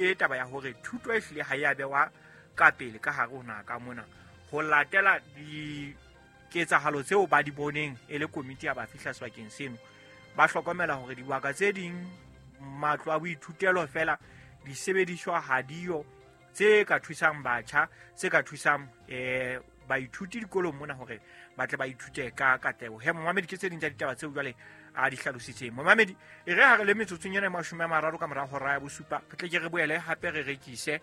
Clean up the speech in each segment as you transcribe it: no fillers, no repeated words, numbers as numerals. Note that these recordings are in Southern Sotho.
Ke taba ya hore thuto e hlile ha ya bewa ka pele ka hare ho naha ka mona ho latela diketsahalo tseo ba di boneng e le komiti ya ba fihla sebakeng seno. Ba hlokomela hore dibaka tse ding matlo a boithutelo fela disebediswa ha diyo tse ka thusang batjha, tse ka thusang baithuti dikolong mona hore ba tle ba ithute ka katleho. He momamedi, ke tse ding tsa ditaba tseo jwale a di hlalositseng. Momamedi, e re ha re le metsotsong ena e 30 ka mora hora ya 7, re tle ke re boele hape re rekise.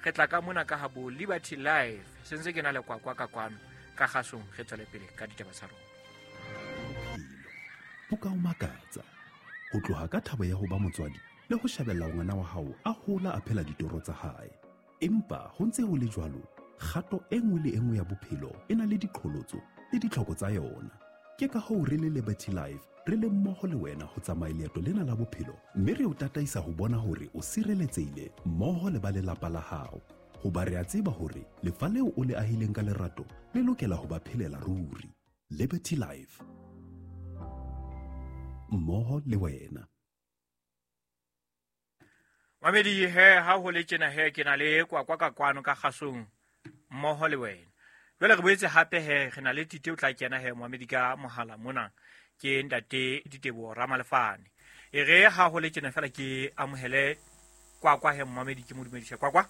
Re tla ka mona ka habo Liberty Life. Se ntse ke na le kwakwa ka kwano ka kgasong, re tswele pele ka ditaba tsa rona. Ho ka o makatsa ho tloha ka thabo ya ho ba motswadi le ho shebella ngwana wa hao a hola a phela ditoro tsa hae. Empa ho ntse ho le jwalo, kgato e nngwe le e nngwe ya bophelo e na le diqholotso le ditlhoko tsa yona. Ke ka hoo re le Liberty Life re le mmoho le wena ho tsamaya leeto lena la bophelo, mme re o tataisa ho bona hore o sireletsehile mmoho le ba lelapa la hao. Hoba re a tseba hore lefa leo o le ahileng ka lerato le lokela ho ba phelela ruri. Liberty Life, mmoho le wena. Mamedi, he ha ho le tjena he ke na le kwakwa ka kwano ka kgasong mmoho le wena. Jwale re boetse hape he re na le Tite o tla kena he momamedi ka mohala mona, ke ntate Diteboho Ramalefane. E re ha ho le tjena fela ke amohele kwakwa he momamedi, ke mo dumedise kwakwa.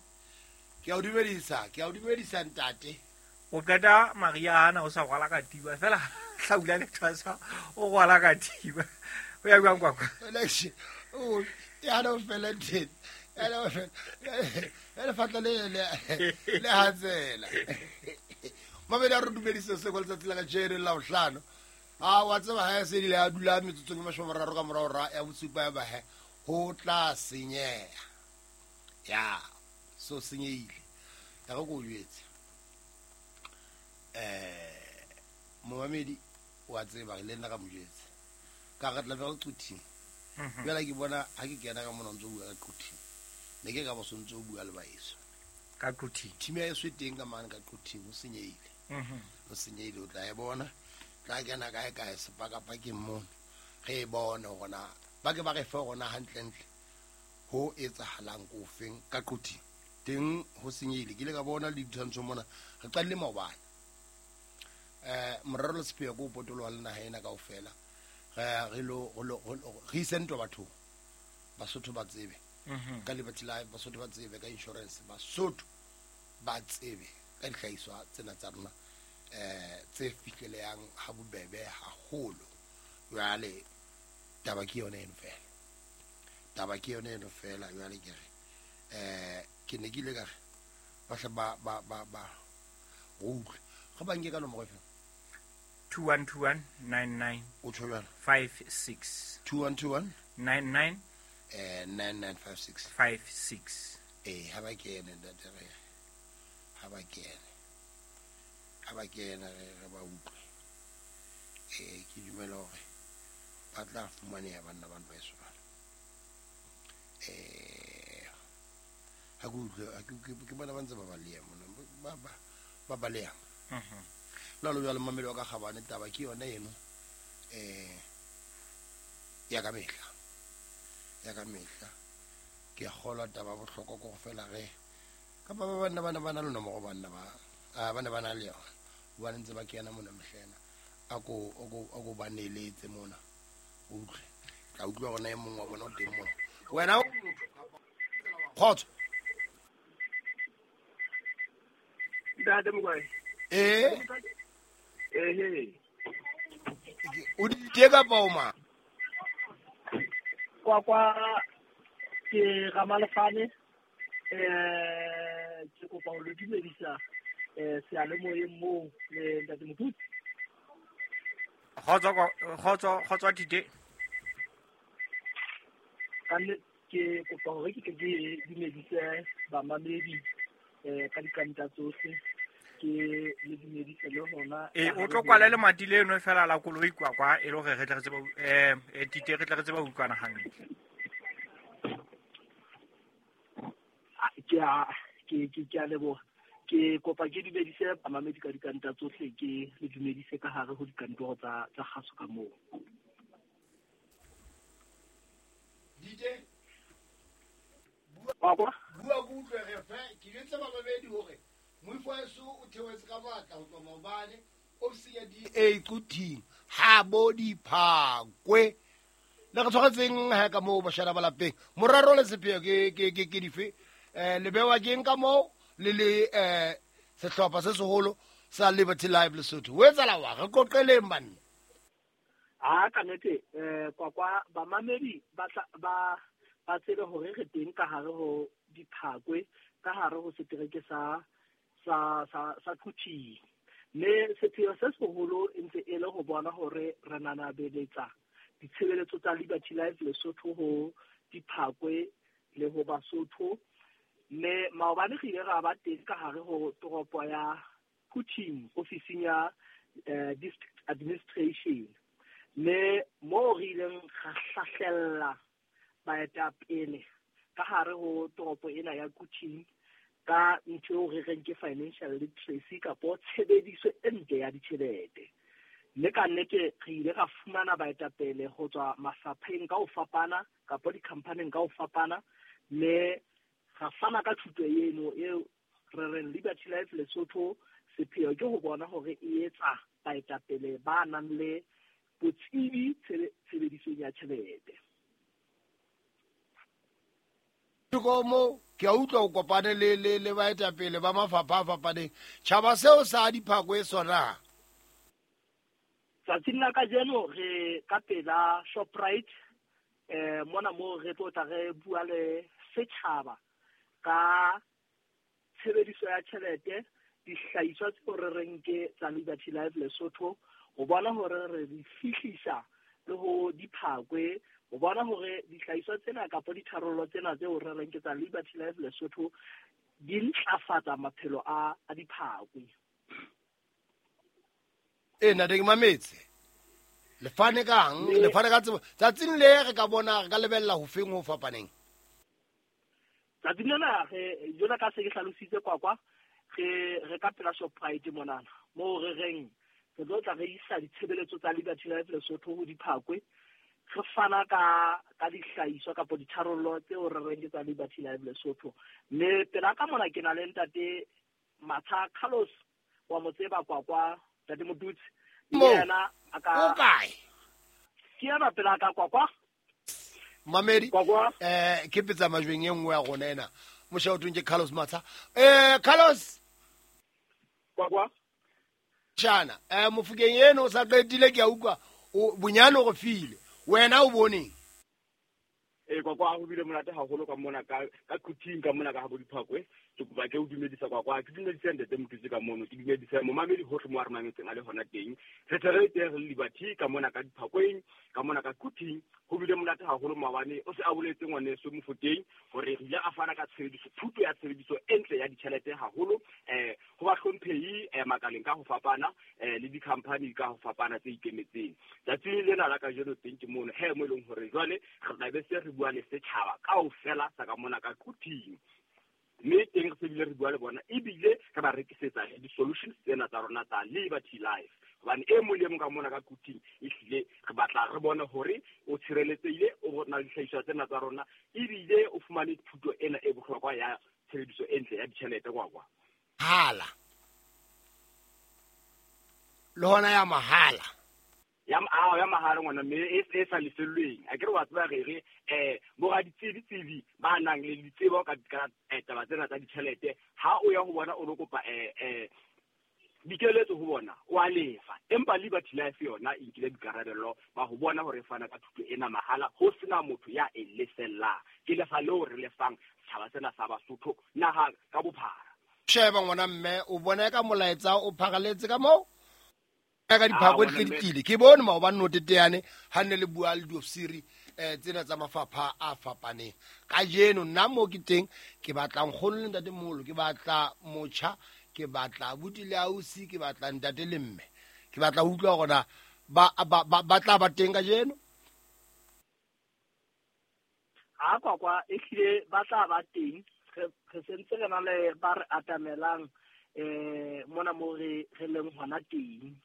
Ke a o dumedisa, ke a o dumedisa ntate. O qeta Mariana o sa rwala katiba fela hlaula le thwasa o rwala katiba. O ya jwang kwakwa? O ya no fela teng. Ya no fela. Ya lefatla le le le hatsela. Mabedi a re dumedise se kwa letsatsi la kajeno la bohlano. A wa tseba ha se ile ya dula metsotsong e 30 ka morao ra ya 7 ya ba he ho tla senyeha. Ya so senyehile. Ya go go jwetse. Momamedi wa tseba le nna ka mo jwetse. Ka re tla be re quthing. Jwale ke bona ha ke kena ka mona o ntso bua ka quthing. Ne ke ka bo sontso o bua le baeso. Ka quthing. Team ya eso e teng ka mane ka quthing, ho senyehile. Ho senyehile, o tla e bona. Tla kena kae kae sepakapakeng mono. Re e bone hore na ba ke ba re fe hore na hantlentle ho etsahalang ko feng ka quthing. Teng ho senyehile. Ke ile ka bona le ditshwantsho mona. Re qadile maobane. Morero le sepheo ke ho potoloha le naha ena kaofela. Re lo re ise ntwa bathong. Basotho ba tsebe. Ka Liberty Life, Basotho ba tsebe ka insurance, Basotho ba tsebe ka dihlahiswa tsena tsa rona tse fihlelehang ha bobebe haholo. Jwale taba ke yona eno fela. Taba ke yona eno fela. Jwale ke re ke ne ke ile ka re ba hle ba ba ba ba utlwe. Re ba nke ka nomoro efe? 2121 99 O tjho jwalo? 56. 2121 99 9956. 56. Ha ba kene ntate re. Ha ba kene. Ha ba kene re ba utlwe. Ke dumela hore ba tla fumaneha banna bana ba eso bana. Ha ke utlwe, ha ke bona ba ntse ba baleha mona, ba baleha. Jwalo jwalo mmamedi wa ka kgabane, taba ke yona eno, ya ka mehla. Ya ka mehla. Ke a kgolwa taba ya bohlokwa ke go fela ge kapa ba banna ba ne ba na le nomoro, banna ba, a, ba ne ba na le yona. Hobane ntse ba kena mona mehlena. A ko ba neletse mona. O utlwe. Tla utlwa hore na e mong wa bona o teng mona. Wena o motho kapa kgotso. Ntate Mokwai. Ehe. O di tee kapa o mang? Kwa kwa ke Ramalefane. Ke kopa ho le dumedisa, seyalemoyeng moo le Ntate Mothusi. Kgotso, kgotso, kgotso Tite. Ka nnete ke kopa hore ke tle ke dumedise bamamedi, ka dikanta tsohle. Ke le dumedise le hona. O tlo kwala lemati leno fela la koloi kwa kwa, e le hore re tle re tsebe Tite, re tle re tsebe ho utlwana hantle. Ke a, ke, ke, ke a leboha. Ke kopa ke dumedise bamamedi ka dikanta tsohle, ke le dumedise ka hare ho dikantoro tsa kgaso ka moo. DJ? Wa kwa? utlwe re fe ke jwetse bababedi hore moifo wa o theohetse ka matla ho tloha maobane ofisi ya DA Quthing ha bo Diphakwe le re tshwaretseng ha ka moo bashana ba lapeng morero le sepheo ke dife le bewa keng ka moo le le sehlopha se seholo sa Liberty Live Lesotho o etsala wa re qoqeleng banna. A ka nnete kwakwa bamamedi ba tsebe hore re teng ka hare ho Diphakwe, ka hare ho setereke sa Quthing. Mme sepheo se seholo e ntse e le ho bona hore re nanabeletsa ditshebeletso tsa Liberty Life Lesotho ho Diphakwe le ho Basotho. Mme maobane re ile ra ba teng ka hare ho toropo ya Quthing, ofising ya district administration. Mme moo re ileng ra hlahlella baetapele ka hare ho toropo ena ya Quthing ka ntho eo re reng ke financial literacy kapo tshebediso e ntle ya ditjhelete. Mme ka nnete re ile ra fumana baetapele ho tswa mafapheng ka ho fapana kapo di-company-ng ka ho fapana, mme ra fana ka thuto eno eo re reng Liberty Life Lesotho sepheo ke ho bona hore e etsa baetapele ba nang le botsebi tshebedisong ya tjhelete. Mo ke a utlwa o kopane le baetapele ba mafapha a fapaneng. Tjhaba seo sa Diphakwe sona. Tsatsing la kajeno re ka pela Shoprite, mona moo re tlo tla re bua le setjhaba ka tshebediso ya tjhelete, dihlahiswa tseo re reng ke tsa Liberty Life Lesotho, ho bona hore re di fihlisa le ho Diphakwe, ho bona hore dihlahiswa tsena kapa ditharollo tsena tseo re reng ke tsa Liberty Life Lesotho di ntlafatsa maphelo a Diphakwe. Nna ke mametse. Le fane kang, le fane ka tsebo. Tsatsing le re ka bona re ka lebella ho feng ho fapaneng. Tsatsing lena re jona ka se ke hlalositse kwakwa, re ka pela Shoprite monana moo re reng re tlo tla re isa ditshebeletso tsa Liberty Life Lesotho ho Diphakwe, re fana ka dihlahiswa kapa ditharollo tseo re reng ke tsa Liberty Life Lesotho. Mme pela ka mona ke na le ntate Matsha Carlos wa motseba kwakwa, ntate Motutsi. Yena a ka o kae? Ke yena pela ka kwakwa. Mamedi ke petsa majweng e nngwe ya rona ena. Moshaotong ke Carlos Matsha. Carlos kwakwa. Tjana, mofokeng eno o sa qetile ke a utlwa bonyane o re file. Wena o boneng? Kwakwa ho bile monate haholo ka mona ka Quthing ka mona ka ha bo Diphakwe. Ke kopa ke o dumedisa kwakwa, ke dumedisa ntate Motutsi ka mono, ke dumedisa momamedi hohle mo a re mametseng a le hona teng. Re tle re teng re le Liberty ka mona ka Diphakweng, ka mona ka Quthing. Ho bile monate haholo maobane o se a boletse ngwaneso Mofokeng hore re ile a fana ka tshebediso, thuto ya tshebediso e ntle ya ditjhelete haholo ho bahlomphehi makaleng ka ho fapana le di-company ka ho fapana tse ikemetseng. Tsatsing lena la kajeno teng ke mono he mo e leng hore jwale re tla be se re bua le setjhaba kaofela sa ka mona ka Quthing. Mme teng re se bile re bua le bona ebile re ba rekisetsa di-solutions tsena tsa rona tsa Liberty Life. Hobane e mong le mong ka mona ka Quthing ehlile re batla re bone hore o tshireletsehile, o na le dihlahiswa tsena tsa rona ebile o fumane thuto ena e bohlokwa ya tshebediso e ntle ya ditjhelete kwakwa. Hala. Le hona ya mahala. Ya mahala ngwana mme e sa lefellweng. A ke re wa tseba re bo raditsebi ba nang le ditsebo ka taba tsena tsa ditjhelete, ha o ya ho bona o lo kopa dikeletso ho bona o a lefa. Empa Liberty Life yona e nkile boikarabello ba ho bona hore e fana ka thuto ena mahala ho sena motho ya e lefellang. Ke lefa leo re lefang setjhaba sena sa Basotho naha ka bophara. Sheba ngwana mme o bona ka molaetsa o pharaletse ka moo ka Diphakwe di tlile. Ke bone maobane no teteane ha nne le bua le diofisiri tsena tsa mafapha a fapaneng. Kajeno nna mo ke teng ke batla nkgono le ntate moholo, ke batla motjha, ke batla abuti le ausi, ke batla ntate le mme. Ke batla ho utlwa hore na ba tla ba teng kajeno. Ha kwakwa ehlile ba tla ba teng. Re sentse re na le ba re atamelang mona mo re leng hona teng.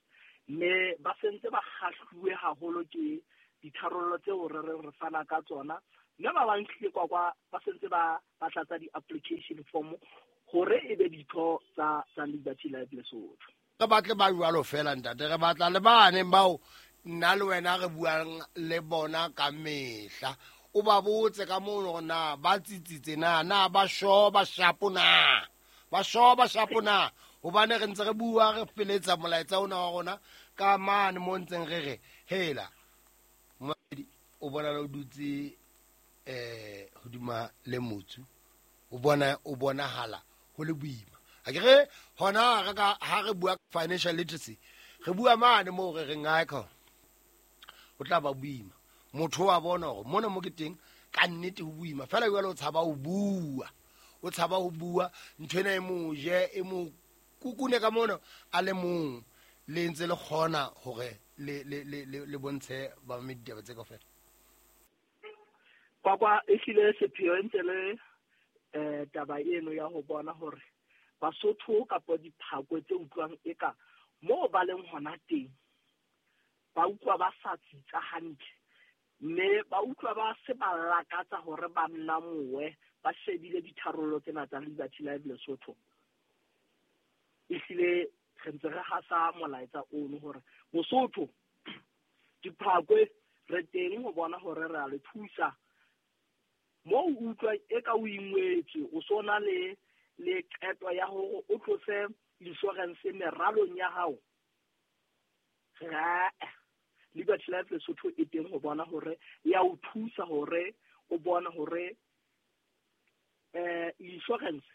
Mme ba sentse ba kgahluwe haholo ke ditharollo tseo re reng re fana ka tsona Mme ba bang hlile kwakwa ba sentse ba tlatsa di-application form hore e be ditho tsa Liberty Life Lesotho. Re batle ba jwalo fela ntate, re batla le bane bao nna le wena re buang le bona ka mehla. O ba botse ka mono hore na ba tsitsitse na ba sho ba shapo na. Ba sho ba shapo na. Hobane re ntse re bua re feletsa molaetsa ona wa rona ka mane mo ntseng re re hela. O bona le o dutse hodima le motsu, o bonahala ho le boima. A ke re hona re ka ha re bua financial literacy, re bua mane mo re reng ha ka o tla ba boima. Motho wa bona hore mona mo ke teng ka nnete ho boima, fela jwale o tshaba ho bua, o tshaba ho bua ntho ena e mo je e mo kukune ka mona a le mong, le ntse le kgona hore le le le le bontshe ba ditaba tse kaofela. Kwakwa e hlile sepheo ntse le taba eno ya ho bona hore Basotho kapa diphakwe tse utlwang eka moo ba leng hona teng ba utlwa ba sa tsitsa hantle, mme ba utlwa ba se ba lakatsa hore ba nnamowe ba shebile ditharollo tsena tsa Liberty Life Lesotho. Ehlile re ntse re hasa molaetsa ono hore Mosotho diphakwe re teng ho bona hore re a le thusa. Mo o utlwa eka o ingwetswe, o sona le qeto ya hore o tlose insurance meralong ya hao. Liberty Life Lesotho e teng ho bona hore ya o thusa hore o bona hore insurance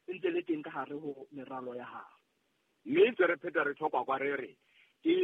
e ntse le teng ka hare ho meralo ya hao. Mme ntse re pheta re tlhokwa kwa re re ke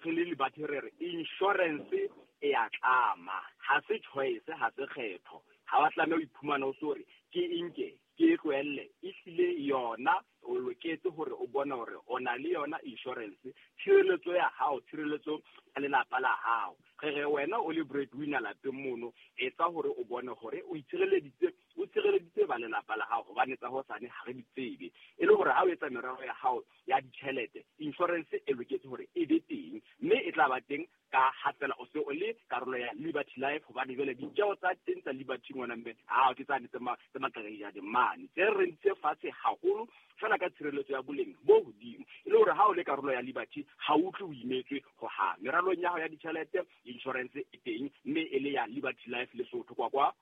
re le Liberty re re insurance e a tlama, ha se choice, ha se kgetho. Ha wa tlameha ho iphumana o so re ke inke ke e tlohelle, ehlile yona o loketse hore o bone hore o na le yona insurance, tshireletso ya hao, tshireletso ya lelapa la hao. Re re wena o le breadwinner lapeng mono, etsa hore o bone hore o itshireleditse, o tshireleditse ba lelapa la hao, hobane tsa hosane ha re di tsebe. E le hore ha o etsa merero ya hao ya ditjhelete, insurance e loketse hore e be teng, mme e tla ba teng ka ha fela o se o le karolo ya Liberty Life, hobane jwale ditjeo tsa teng tsa Liberty ngwana mme ha ke tsane tse maqakajadi mane tse re ntse fatshe haholo fela ka tshireletso ya boleng bo hodimo. E le hore ha o le karolo ya Liberty ha o utlwe o imetswe ho ha meralong ya hao ya ditjhelete, insurance e teng mme e le ya Liberty Life Lesotho. Kwa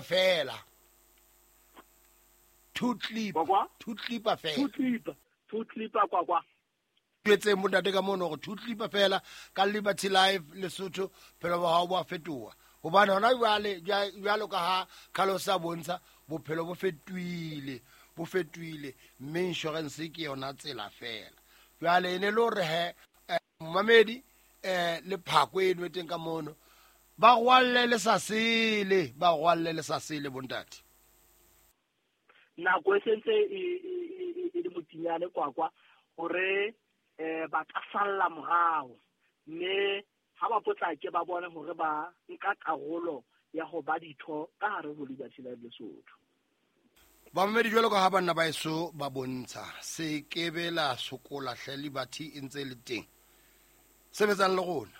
fela two clip fela two clip kwa jwetseng bontate ka mono hore two clip fela ka Liberty Life Lesotho phelo ba hao bo a fetoha. Hobane hona jwale jwalo ka ha Carlos a bontsha bophelo bo fetohile, bo fetohile, mme insurance ke yona tsela fela. Jwale e ne le hore he momamedi le phako eno e teng ka mono ba rwalle le sa sele, ba rwalle le sa sele bontate. Nako e sentse e le motinyane kwakwa hore ba ka salla morao, mme ha ba potlake ba bone hore ba nka karolo ya ho ba ditho ka hare ho Liberty Life Lesotho. Bamamedi jwalo ka ha banna ba eso ba bontsha, se kebe la sokola hle, Liberty e ntse le teng. Sebetsang le rona,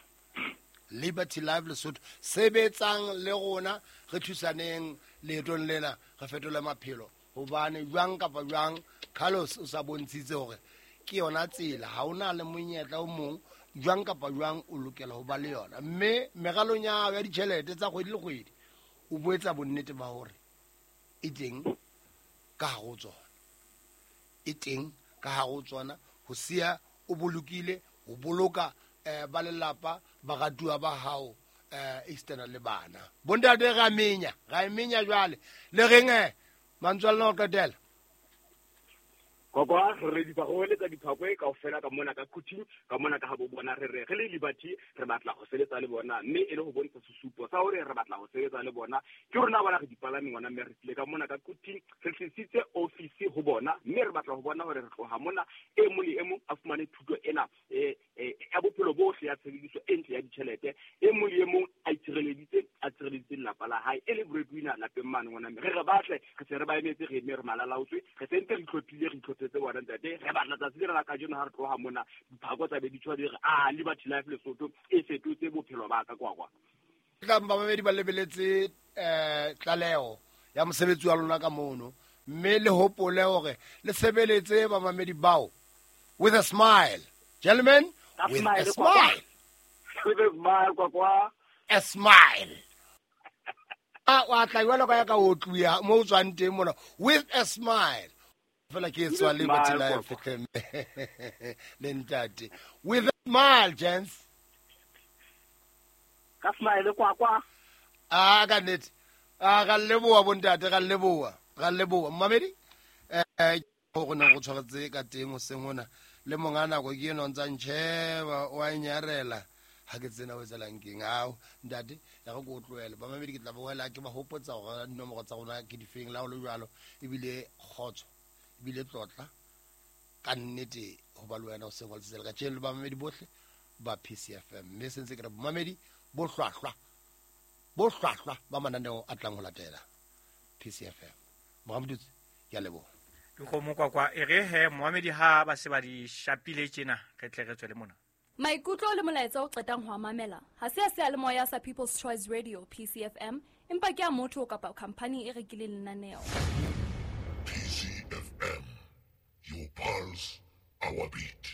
Liberty Life Lesotho, sebetsang le rona, re thusaneng leetong lena, re fetole maphelo. Hobane jwang kapa jwang Carlos o sa bontshitse hore ke yona tsela, ha ona le monyetla o mong, jwang kapa jwang o lokela ho ba le yona. Mme meralong ya hao ya ditjhelete tsa kgwedi le kgwedi o boetsa bonnete ba hore e teng ka hare ho tsona, e teng ka hare ho tsona, ho siya o bolokile, ho boloka ba lelapa, baratuwa ba hao, external le bana. Bontate ra menya, ra menya jwale. Le reng mantswe a lona ho qetela? Kwa re di bagoeletsa diphakwe kaofela ka mona ka Quthing, ka mona ka ha bo bona re re re le Liberty re batla ho sebetsa le bona, mme e le ho bontsha sesupo sa hore re batla ho sebetsa le bona. Ke rona bona re dipalami ngwana, mme re tlile ka mona ka Quthing, re tlisitse office ho bona, mme re batla ho bona hore re tloha mona e mong le e mong a fumane thuto ena ya bophelo bohle ya tshebediso e ntle ya ditjhelete, e mong le e mong a itshireleditse, a tshireleditse lelapa la hae, e le breadwinner lapeng mane ngwana, mme re re batle re se re ba emetse, re eme re malalaotswe, re sentse re itlhophile, re itlhophetse bona ntate. Re batla tsatsi lena la kajeno ha re tloha mona diphako tsa be di tshwa di re a Liberty Life Lesotho e fetotse bophelo ba ka kwa. Tlang bamamedi ba lebeletse tlaleho ya mosebetsi wa lona ka mono, mme le hopole hore le sebeletse bamamedi bao with a smile. Gentlemen, with a smile. With a smile, kwakwa. A smile. A wa tla jwalo ka ya ka o tluya mo o tswang teng mona with a smile. Fela ke tswa le Liberty Life le ntate. With a smile, gents. Ka smile kwakwa. A ka nnete. A ga leboa bontate, ga leboa. Ga leboa. Mmamedi go ne go tshwaretse ka teng o seng hona le monga nako ke eno ntsa ntšheba wa nyarela ha ke tsena o etsalang keng ao ntate ya go ko tlohele bamamedi ke tla boela ke ba hopotsa gore dinomoro tsa rona ke difeng la ho le jwalo ebile kgotso ebile tlotla ka nnete ho ba le wena o seng wa letsatsi la kajeno le bamamedi bohle ba PCFM mme sentse ke re bomamedi bo hlwahlwa ba mananeo a tlang ho latela PCFM. Moramodutse ke a leboha. Dikgomo kwakwa e re he moamedi ha ba se ba di shapile tjena re tle re tswele mona. Maikutlo le molaetsa o qetang ho mamela ha se a seyalemoya sa People's Choice Radio PCFM empa ke a motho kapa company e rekileng lenaneo. PCFM, your pulse, our beat.